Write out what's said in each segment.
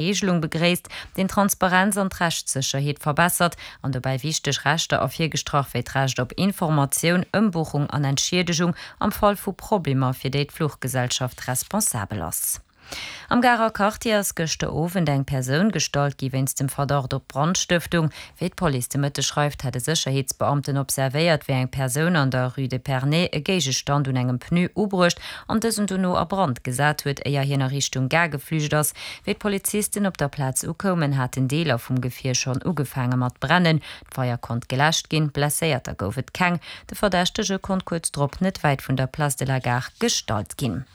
Reegelung begréisst, deen d'Transparenz an d'Rechtssécherheet verbessert an dobäi wichteg Rechter ervirgestrach wéi d'Recht op Informatioun, Ëmbuchung an Entschiedegung am Fall vu Problemer, fir déi d'Fluchgesellschaft responsabel ass. Am Garer Quartier ass gëschter Owend eng Persoun gestallt gi wéinst dem Verdacht op Brandstëftung. Wéi d'Police de Mëtteg schreift, hätt e Sécherheetsbeamten observéiert, wéi eng Persoun an der Rue d'Epernay e Géigestand un engem Pneu ubruecht an dësen dono a Brand gesat huet, éier hien a Richtung Gare geflücht ass. Wéi d'Polizisten op der Plaz ukoumen, haten Deeler vum Gefier schonn ugefaange mat brennen. D'Feier konnt geläscht ginn, Blesséierter gouf et keng. De Verdächtege konnt kuerz drop net wäit vun der Place de la Gare gestallt ginn.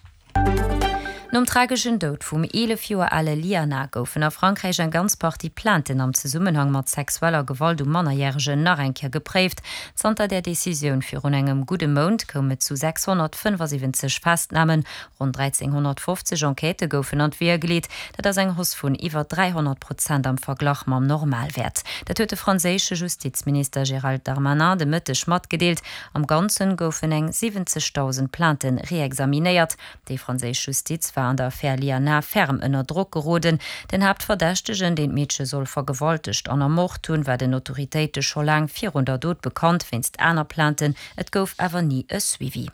Nom trageschen Doud vum 11 Joer ale Liana goufen a Frankräich eng ganz Partie Plainten am Zesummenhang mat sexueller Gewalt u Mannerjäregen nach eng Kéier gepréift. Zanter där Decisioun virun engem gudde Mount koum et zu 675 Festnamen. Ronn 1.350 Enquêtë goufen an d'Weeër geleet. Dat ass eng Hausse vun iwwer 300 Prozent am Verglach mam Normalwäert. Dat huet de franséische Justizminister Gérald Darmanin de Mëtteg matgedeelt. Am Ganzen goufen eng 70.000 Plaintë reexaminéiert. Déi franséisch Justiz war an der Affär Liana ferm ënner Drock geroden. Den Haaptverdächtegen, deen d'Meedche soll vergewaltegt an ermort hunn, war den Autoritéite scho laang virun der Dot bekannt, wéinst aner Plainten. Et gouf awer ni e Suivi.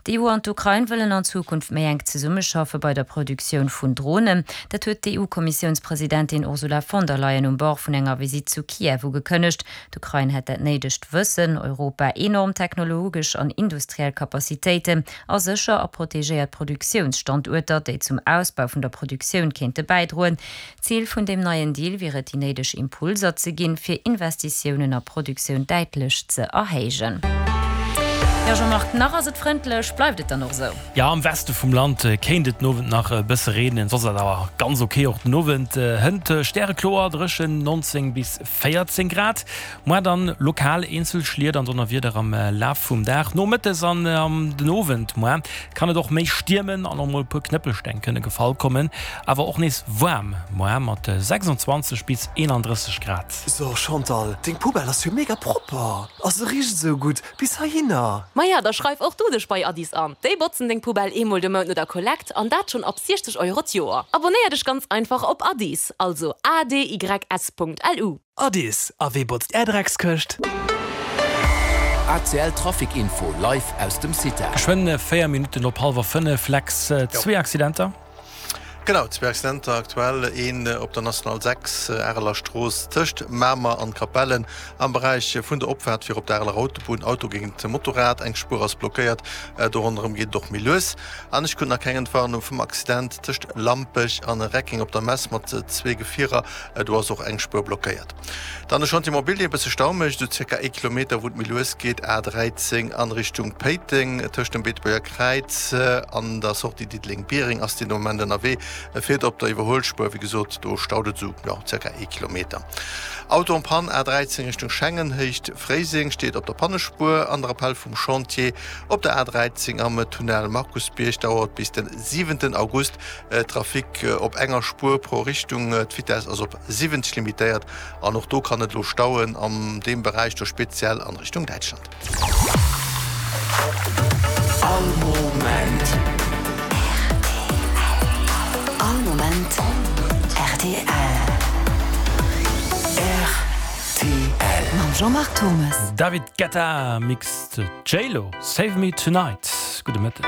D'EU an d'Ukrain wëllen an Zukunft méi enk zesummeschaffe bei der Produktioun vun Dronen. Dat huet d'EU-Kommissiounspresidentin Ursula von der Leyen um Bord vun enger Visitt zu Kiew ugekënnegt. D'Ukrain hätt dat néidegt Wëssen, Europa enorm technologesch an industriell Capacitéiten a sécher a protegéiert Produktiounsstanduerter, déi zum Ausbau vun der Produktioun kéinte bäidroen. Zil vun deem neien Deal wier et, déi néideg Impulser ze ginn, fir Investitiounen a Produktioun däitlech ze erhéijen. Jo Jean-Marc, nach ass et frëndlech, bleift et dann och esou? Jo, am Weste vum Land kéint et den Owend nach e bësse reenen, soss ass et awer ganz ok. Och den Owend hënt stärekloer, dréchen, 19 bis 14 Grad. Moar dann lokal eenzel Schliet an Donnerwieder am Laf vum Dag. Nomëttes an am den Owend moar kann et och méi stiermen an och mol e puer Knëppelsteng kënne gefall kommen. Awer och nees waarm moar mat 26 bis 31 Grad. So Chantal, deng Poubelle ass jo mega propper a se richt esou gutt bis heihinner. Maja, da schreif och du dech bei Addis an. Déi botzen deng Poubelle eemol de Mount no der Kollekt an dat schonn ab 60 Euro d'Joer. Abonnéier dech ganz einfach op Addis, also adys.lu. Addis, a wee botzt är Dreckskëscht? ACL Trafic Info live aus dem CITA. Geschwënn 4 Minutten op hallwer 5, Lex, zwee Accidenter. Genau, zwee Accidenter aktuell, een op der National 6, Areler Strooss, tëscht Mamer an Capellen am Beräich vun der Opfaart fir op d'Areler Autobunn, Auto géint Motorrad, eng Spuer ass blockéiert, do ronderëm geet et och méi lues. An ech krut nach keng Entwarnung vum Accident tëscht Lampech an Reckeng op der Mess mat zwee Gefierer, do ass och eng Spuer blockéiert. Dann de Chantier Mobilier, e bësse Stau mécht, esou zirka ee Kilometer, wou et méi lues geet, A 13 an Richtung Péiteng, tëscht dem Beetebuerger Kräiz an der Sortie Diddeleng-Biereng ass deen Moment ënnerwee. E fiert op der Iwwerhuelspuer, wéi gesot, do staut et esou, jo, zirka ee Kilometer. Auto en panne, A 13 Richtung Schengen, Héicht Fréiseng, steet op der Pannespuer an der Appell vum Chantier op der A 13 am Tunnel Markusbierg dauert bis den 7 August Trafic op enger Spuer pro Richtung, d'Vitess ass op 70 limitéiert an och do kann et elo stauen an deem Beräich do, speziell an Richtung Däitschland. All Moment. All Moment rtl. Rtl. Mam Jean-Marc Thomes. David Guetta mixt J-Lo, Save Me Tonight. Gudde Mëtteg.